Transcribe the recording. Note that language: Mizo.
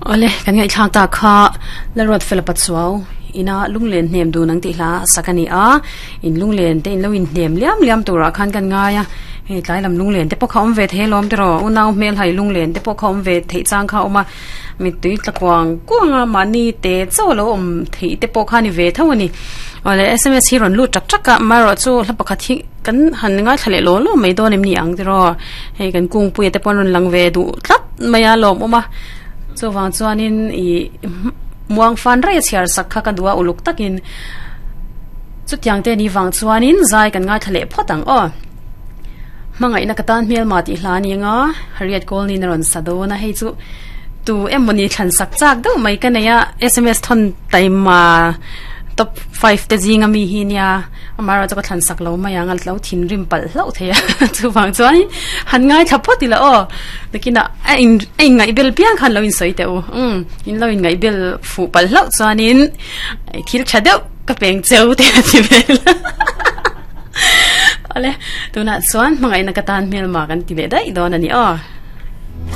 Awle, kan ngaihthlak tak kha Lalruat Fela Pachuau ina lunglen hnem dun ang tih hla a sak a ni a, in lunglen te in lo inhnem liam liam turah khan kan ngai a, hei tlai lam lunglen te pawh kha awm ve thei alawm tiraw, unau hmelhai lunglen te pawh kha awm ve theih chang kha a awm a, mittui tla kuang kuang a mahni te chauh a lo awm theih te pawh kha a ni ve tho a ni. Awle, sms hi rawn lut tak tak a, amaherawh chu hla pakhat hi kan han ngaithla leh law law mai dawn em ni ang tiraw, hei kan kungpuia te pawh an rawn lang ve duh tlat mai a lawmawm a. Chuvang chuanin ih muang fan rei a chhiar sak kha ka duh a uluk takin chutiang te ni vang chuanin zai kan ngaithla leh phawt ang aw. Hmangaihna ka tan hmelma tih hla ni anga Harriet Colney a rawn sa dawn a hei chu tu emawni thlan sak chak deuh mai ka nei a sms thawn taima top 5 te zinga mi hi nia Amaherawh chu ka thlan sak lo mai ang a lo thinrim palh hlauh thei a chuvang chuan han ngaithla phawt ila aw nakinah a in a inngaih bel piang khan lo insawi teh u umm in lo inngaih bel fuh palh hlauh chuanin thil tha deuh ka peng cheu te a ti vel awle tunah chuan hmangaihna ka tan hmelma kan ti leh daih dawn a ni aw.